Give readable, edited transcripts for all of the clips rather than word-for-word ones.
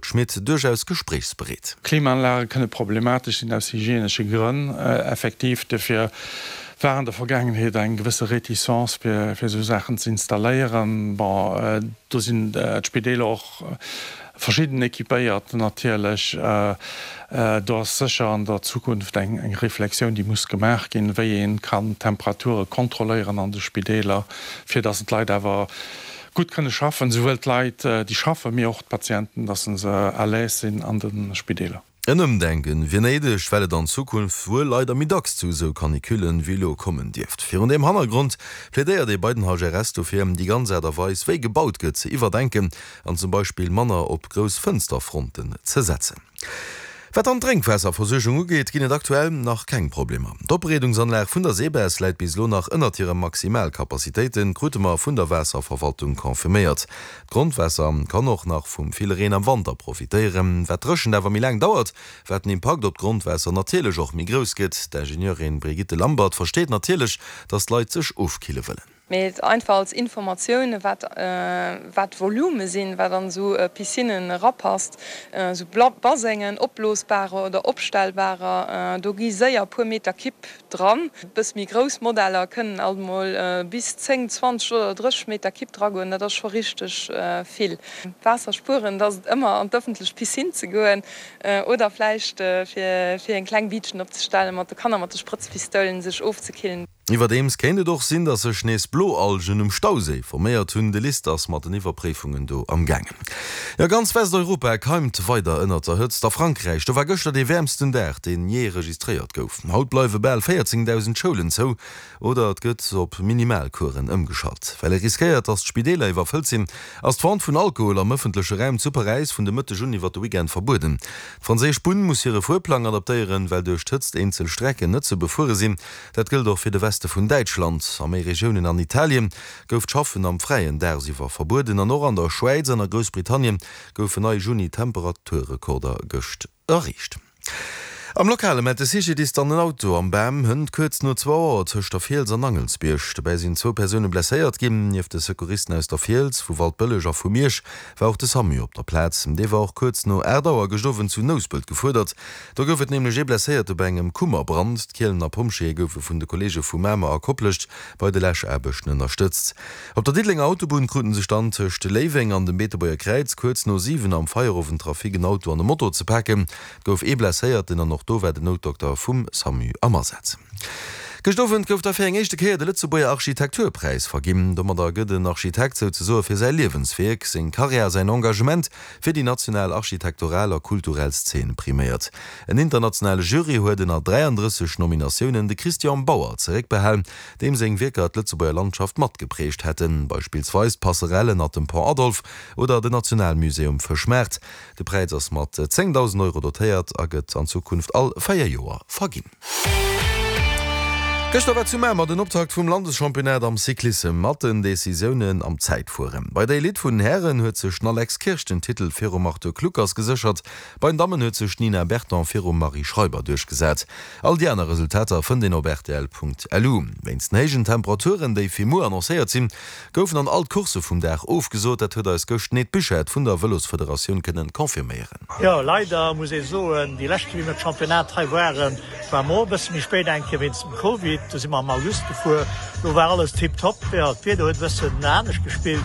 Schmit duerchaus gespréichsbereet. Klimaanlage kënne problematesch sinn aus hygienesche Grënn. Effektiv, dofir war an der Vergaangenheet eng gewësse Réticence fir esou Saachen ze installéieren. Bon, do sinn d'Spideeler och verschidden équipéiert natierlech. Do ass sécher an der Zukunft eng Reflexioun, déi muss gemaach ginn, wéi ee kann d'Temperature kontrolléieren an de Spideeler, fir datt d'Leit awer gutt kënne schaffen, souwuel d'Leit, déi schaffen, mee och d'Patienten, dass se à l'aise sinn an de Spideeler. En Ëmdenken wier néideg, well et an Zukunft wuel leider méi dacks zu esou Canicullen wéi elo kommen dierft. Virun deem Hannergrond plädéiert ee bei den HRS dofir, déi ganz Aart a Weis wéi gebaut gëtt ze iwwerdenken an zum Beispill manner op grouss Fënsterfronten ze setzen. Wat dann d'Drénkwaasserversuergung ugeet, ginn et aktuell nach keng Problemer. D'Opbereedungsanlag vun der SEBES läit bis elo nach ënnert hire Maximalcapacitéiten, krute mer vun der Waasserverwaltung confirméiert. D'Grondwaasser kann och nach vum ville Reen am Wanter profitéieren. Wat d'Dréchent awer méi laang dauert, wat den Impakt op d'Grondwaasser natierlech och méi grouss gëtt. D'Ingenieurin Brigitte Lambert versteet natierlech, datt d'Leit sech ofkille wëllen. Mee einfach als Informatioun, wat wat d'Volume sinn, wat an esou Piscinnen erapasst, esou Basengen, opblosbarer oder opstellbarer, do gi séier e puer Meter Kipp dran. E bësse méi grouss Modeller kënnen alt emol bis 10, 20 oder 30 Meter Kipp dragoen, dat ass scho richteg vill. Waasser spueren, dat ass et ëmmer an d'ëffentlech Piscine ze goen oder vläicht fir fir eng kleng Biitchen opzestellen, mat de Kanner mat de Sprëtzpistoulen sech ofzekillen. Iwwerdeems kéint et och sinn, datt sech nees Bloalgen um Stauséi forméiert hunn. De LIST ass mat den Iwwerpréifungen do am gaangen. Jo, ganz Westeuropa keimt weider ënnert der Hëtzt. A Frankräich, do war gëschter dee wäermsten Dag, deen jee registréiert gouf. Haut bleiwe bal 14.000 Schoulen zou oder et gëtt op Minimalcoursen ëmgeschalt. Well ee riskéiert, datt d'Spideeler iwwerfëllt sinn, ass d'Vente vun Alkohol am ëffentleche Raum zu Paräis vun de Mëtteg un iwwer de Weekend verbueden. D'franséisch Bunn muss hire Fuerplang adaptéieren, well duerch d'Hëtzt eenzel Strecken net ze befuere sinn. Dat gëllt och fir de Weste vun Däitschland. A méi Regiounen an Italien gouf d'Schaffen am Fräien dagsiwwer verbueden an och an der Schwäiz an a Groussbritannien goufen nei Juni-Temperaturrekorder gëscht erreecht. Am Lokale mellt de CGDIS dann en Auto am Bam hënt kuerz no zwou Auer tëscht der Fiels an Angelsbierg. Dobäi sinn zwou Persoune blesséiert ginn. Nieft de Secouristen aus der Fiels, vu Waldbëlleg a vu Miersch war och de Samu op der Plaz. Dee war och kuerz no 8 Auer gëscht Owend zu Nouspelt gefuerdert. Do gouf et nämlech ee Blesséierte bei engem Kummerbrand. D'Kielener Pompjeeë goufe vun de Kolleege vu Mamer a Koplescht bei de Läschaarbechten ënnerstëtzt. Op der Diddelenger Autobunn kruten sech dann tëscht Léiweng an dem Beetebuerger Kräiz kuerz no 7 am Feierowendtrafic en Auto an e Moto ze paken. Et gouf ee Blesséierten an och do war den Noutdokter vum Samu am Asaz. Gëscht Owend gouf da fir eng éischte Kéier de Lëtzebuerger Architekturpräis verginn. Domadder gëtt en Architekt souzesoe fir säi Liewenswierk, seng Karriär a säin Engagement fir déi national architektoral a kulturell Szene priméiert. En internationale Jury huet ënner 33 Nominatiounen de Christian Bauer zeréckbehal, deem seng Wierker d'Lëtzebuerger Landschaft matgeprägt hätten, beispillsweis d'Passerelle ënnert dem Pont Adolphe oder den Nationalmusée um Fëschmaart. De Präis ass mat 10.000 Euro dotéiert a gëtt an Zukunft all 4 Joer verginn. Gëschter war zu Mamer den Optakt vum Landeschampionnat am Cyclissem mat den Decisiounen am Zäitfueren. Bei der Elite vun den Hären huet sech den Alex Kirsch den Titel virum Arthur Kluckers geséchert. Bei den Dammen huet sech d'Nina Berton virum Marie Schreiber duerchgesat. All déi aner Resultater fënnt een op rtl.lu. Wéinst den héijen Temperaturen, déi fir muer annoncéiert sinn, goufen an all d'Coursse vum Dag ofgesot. Dat huet eis gëscht d'Ned Buchert vun der Vëlosfederatioun kënnen confirméieren. Jo, leider muss ee soen, déi lescht Kéier wéi mir d'Championnat hei waren, war mer och e bësse méi spéit eng Kéier wéinst dem Covid. Do si mer am August gefuer, do war alles tiptop. Jo, d'Wieder huet e bëssen anescht gespillt.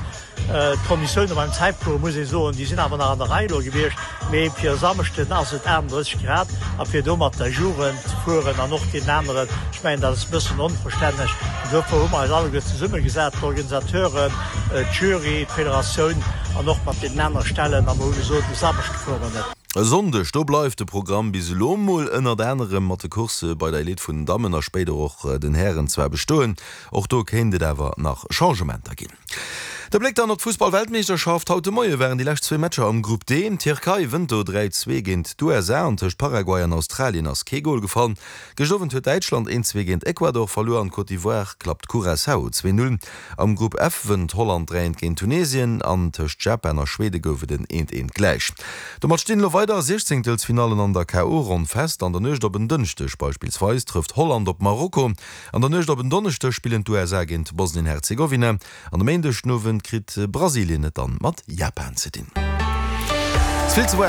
D'Konditioune beim Zäitfuere muss ee soen, déi sinn awer nach an der Rei elo gewiescht. Mee fir e Samschden ass et 38 Grad a fir do mat der Jugend ze fueren an och deenen aneren, ech mengen dat ass e bëssen onverstänneg. An dofir hu mer eis alleguer zesummegesat, d'Organisateuren, d'Jury, d'Federatioun an och mat deenen anere Stellen a mer hu gesot, e Samschde fuere mer net. E Sonndeg, do bleift de Programm bis elo mol ënnert anerem mat de Coursse bei der Elite vun den Dammen a spéider och den Hären zwar bestoen. Och do kéint et awer nach Changementer ginn. De Bléck dann op d'Fussball-Weltmeeschterschaft. Haut de Moie waren déi lescht zwee Matcher am Grupp D. D'Tierkei wënnt do 3, 2 géint d'USA an tëscht Paraguay an Australien ass kee Gol gefall. Gëscht Owend huet Däitschland 1, 2 géint Ecuador verluer an d'Côte d'Ivoire klappt Curaçao 2, 0. Am Grupp F wënnt Holland 3, 1 géint Tunesien an tëscht Japan a Schwede gouf et en 1, 1 gläich. Domat stinn elo weider Siechzéngtelsfinallen an der KO-Ronn fest. An der Nuecht op en Dënschdeg beispillsweis trëfft Holland op Marokko. An der Nuecht op en Donneschdeg spillen d'USA géint Bosnien-Herzegowina an e Méindeg den Owend kritt Brasilien et dann mat Japan ze dinn. Ze vill ze waarm.